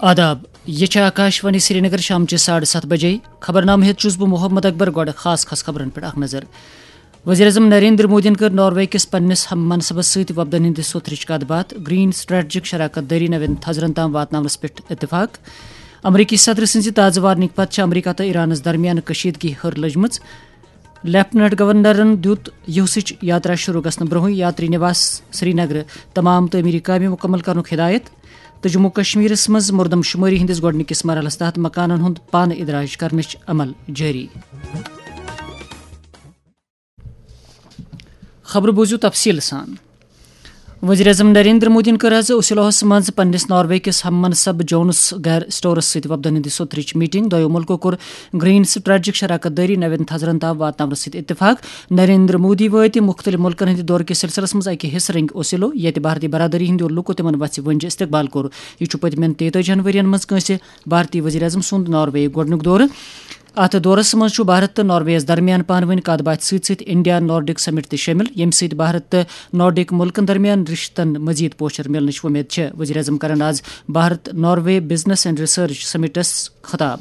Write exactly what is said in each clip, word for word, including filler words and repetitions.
آداب، یہِ چھِ آکاش وانی سرینگر، شامچہِ ساڑٕ ستھ بجے۔ خبرنامہٕ ہیٚتھ چھُس بہٕ محمد اکبر۔ گۄڈٕ خاص خاص خبرن پٮ۪ٹھ اکھ نظر۔ وزیر اعظم نریندر مودیَن کٔر ناروے کِس پننِس ہم منصبس سۭتۍ وفدن ہٕنٛدِ سوٚتھرٕچ کتھ باتھ۔ گرین سٹریٹجک شراکت دٲری نوٮ۪ن تھزرن تام واتناونس پٮ۪ٹھ اتفاق۔ امریکی صدر سٕنٛزِ تازٕ وارننگ پتہٕ چھِ امریکہ تہٕ ایرانس درمیان کشیدگی ہر لٔجمٕژ۔ لیفٹیننٹ گورنرن دیُت یوسٕچ یاترا شروع گژھنہٕ برونٛہٕے یاتری نواس سرینگرٕ تمام تعمیری کامہِ مکمل کرنُک ہدایت۔ تہٕ جموں کشمیرس منٛز مردم شمٲری ہٕنٛدِس گۄڈٕنِکِس مرحلس تحت مکانن ہُنٛد پانہٕ ادراج کرنٕچ عمل جٲری۔ خبرٕ بوٗزِو تفصیٖل سان۔ وزیر اعظم نریندر مودیَن کٔر آز اوسلوہس منٛز پننِس ناروے کِس ہم منصب جونس گیر سٹورس سۭتۍ وفدن ہٕنٛدِ سوٚتھرٕچ میٹنگ۔ دۄیو ملکو کوٚر گرین سٹریٹجک شراکت دٲری نوٮ۪ن تھزرن تام واتناونس سۭتۍ اتفاق۔ نریندر مودی وٲتۍ مُختٔلِف مُلکن ہٕنٛدِ دورٕ کِس سلسلس منٛز اکہِ حصہٕ رنگۍ اوسلو، ییٚتہِ بھارتی برادری ہٕنٛدیو لوٗکو تِمن وژھِ ؤنجہِ استقبال کوٚر۔ یہِ چھُ پٔتمٮ۪ن تیتٲجی ہن ؤرین منٛز کٲنٛسہِ بھارتی وزیر اعظم سُنٛد ناروے گۄڈٕنیُک دورٕ۔ اتھ دورس منٛز چھُ بھارت تہٕ نارویس درمیان پانہٕ ؤنۍ کتھ باتھِ سۭتۍ سۭتۍ انڈیا نارڈک سمٹ تہِ شٲمِل، ییٚمہِ سۭتۍ بھارت تہٕ نارڈک مُلکن درمیان رشتن مزید پوچھر مِلنٕچ وۄمید چھےٚ۔ وزیر اعظم کرن آز Bharat Norway business and research summits خطاب۔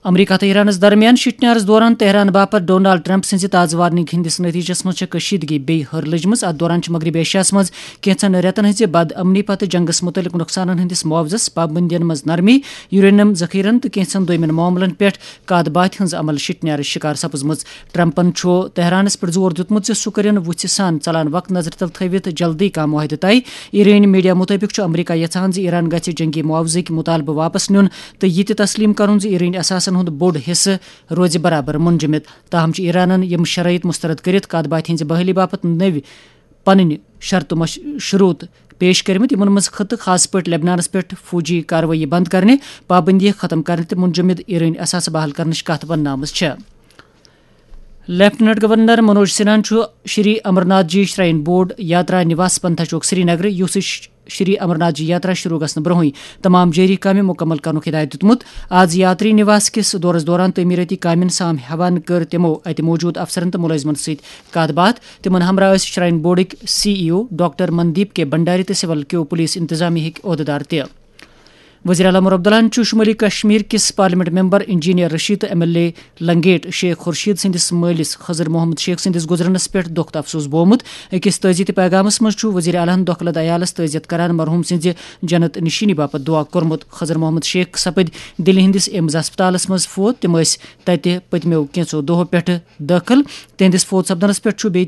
امریکہ تہٕ ایرانس درمیان شِٹنیارس دوران تہران باپتھ ڈونالڈ ٹرمپ سٕنزِ تازٕ وارننگ ہٕندِس نتیجس منز چھےٚ کشیدگی بییہِ ہر لٔجمٕژ۔ اتھ دوران چھِ مغربی ایشیاہس منز کینژن رٮ۪تن ہٕنزِ بد امنی پتہٕ جنگس متعلق نقصانن ہٕندِس معاوضس، پابندین منز نرمی، یورینیم ذخیرن تہٕ کینژن دویمٮ۪ن معاملن پٮ۪ٹھ کتھ باتھِ ہٕنز عمل شِٹنیارٕچ شکار سپٕزمٕژ۔ ٹرمپن چھُ تہرانس پٮ۪ٹھ زور دیُتمُت زِ سُہ کٔرِن وُژھِ سان ژلان وقت نظرِ تل تھٲوِتھ جلدی کانٛہہ معاہدٕ طے۔ ایرٲنۍ میڈیا مُطٲبِق چھُ امریکہ یژھان زِ ایران گژھِ جنگی معاوضٕکۍ مُطالبہٕ واپس نیُن تہٕ یہِ تہِ تسلیم کرُن زِ ایرٲنۍ اثاثن ہُنٛد بوٚڑ حصہٕ روزِ برابر منجمد۔ تاہم چھُ ایرانن یِم شرائط مسترد کٔرِتھ کتھ باتھِ ہٕنٛزِ بحٲلی باپتھ نٔوۍ پنٕنۍ شرطہٕ مش-، شروط پیش کٔرمٕتۍ، یِمن منٛز خطہٕ، خاص پٲٹھۍ لبنانس پٮ۪ٹھ فوجی کاروٲیی بنٛد کرنہِ، پابندی ختم کرنہِ تہٕ منجمد ایرٲنۍ اثاثہٕ بحال کرنٕچ کتھ وننہٕ آمٕژ چھےٚ۔ لیفٹیننٹ گورنر منوج سنہاہن چھُ شری امرناتھ جی شراین بورڈ یاترا نواس پنتھا چوک سرینگرٕ یوسٕچ شری امرناتھ جی یاترا شروع گژھنہٕ برونٛہٕے تمام جٲری کامہِ مُکمل کرنُک ہدایت دیُتمُت۔ آز یاتری نواس کِس دورس دوران تعمیرٲتی کامٮ۪ن سام ہیوان کٔر تِمو اتہِ موجود افسرن تہٕ مُلٲزمن سۭتۍ کتھ باتھ۔ تِمن ہمراہ ٲسۍ شراین بورڈٕکۍ سی ای او ڈاکٹر مندیپ کے بھنڈاری تہٕ سول کیو پولیس انتظامیہ ہٕکۍ عہدیدار تہِ۔ وزیر اعلیٰ عمر عبداللہن چھُ شمٲلی کشمیر کِس پارلیمنٹ ممبر انجینئر رشید تہٕ M L A Langate Sheikh Khurshid سٕنٛدِس مٲلِس خضر محمد شیخ سٕنٛدِس گُزرنس پٮ۪ٹھ دۄکھ تہٕ افسوس بوومُت۔ أکِس تعزیتی پیغامس منٛز چھُ وزیر اعلیٰ ہن دۄکھ لد عیالس تعزیت کران مرحوم سٕنٛزِ جنت نشینی باپتھ دعا کوٚرمُت۔ خضر محمد شیخ سپٕدۍ دِلہِ ہٕنٛدِس ایمز ہسپتالس منٛز فوت۔ تِم ٲسۍ تتہِ پٔتمیو کینٛژو دۄہو پٮ۪ٹھٕ دٲخل۔ تِہنٛدِس فوت سپدنس پٮ۪ٹھ چھُ بیٚیہِ